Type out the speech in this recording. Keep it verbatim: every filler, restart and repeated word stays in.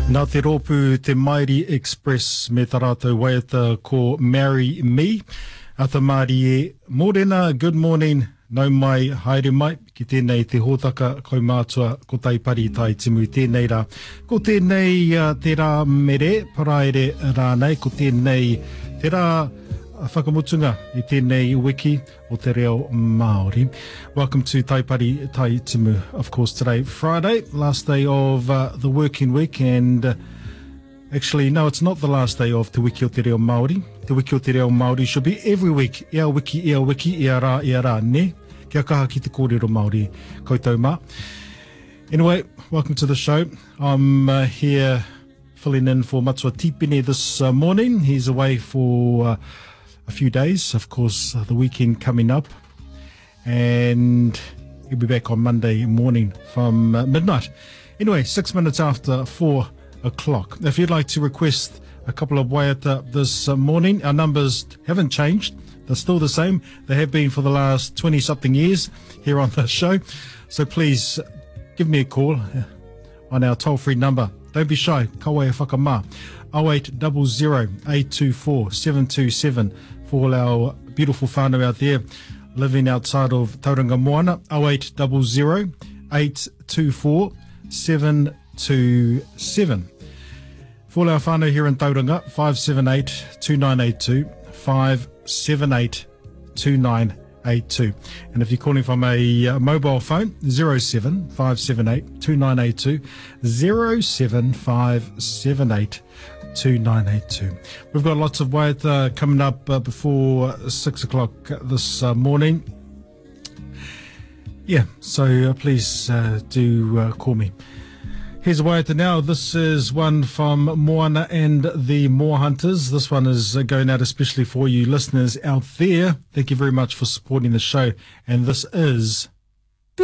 Nā te rōpū Te Mairi Express me tā rātou waiata ko Marry Me. Ata mārie, mōrena, good morning, nau mai, haere mai, ki tēnei te hōtaka kaumātua ko Taipari Tai Timu tēnei rā. Ko tēnei uh, te rā mere, paraire rānei, ko tēnei te rā whakamutunga i tēnei wiki o te reo Māori. Welcome to Taipari Tai Timu. Of course, today, Friday, last day of uh, the working week, and uh, actually, no, it's not the last day of Te Wiki o Te Reo Māori. Te Wiki o Te Reo Māori should be every week. Ia wiki, ia wiki, ia rā, ia rā, ne? Kia kaha ki te kōrero Māori. Koutou mā. Anyway, welcome to the show. I'm uh, here filling in for Matua Tipene this uh, morning. He's away for uh, a few days, of course, uh, the weekend coming up. And he'll be back on Monday morning from uh, midnight. Anyway, six minutes after four o'clock. If you'd like to request a couple of waiata this uh, morning, our numbers haven't changed. They're still the same. They have been for the last twenty-something years here on the show. So please give me a call on our toll-free number. Don't be shy. Kaua e whakamā. oh eight zero zero, eight two four, seven two seven for all our beautiful whānau out there living outside of Tauranga Moana. oh eight zero zero, eight two four, seven two seven. For all our whānau here in Tauranga, five seven eight, two nine eight two, five seven eight, two nine eight two. And if you're calling from a, uh, mobile phone, zero seven five seven eight two nine eight two, zero seven five seven eight two nine eight two. We've got lots of waiata coming up, uh, before six o'clock this, uh, morning. Yeah, so, uh, please, uh, do, uh, call me. Here's a waiata now. This is one from Moana and the Moa Hunters. This one is, uh, going out especially for you listeners out there. Thank you very much for supporting the show. And this is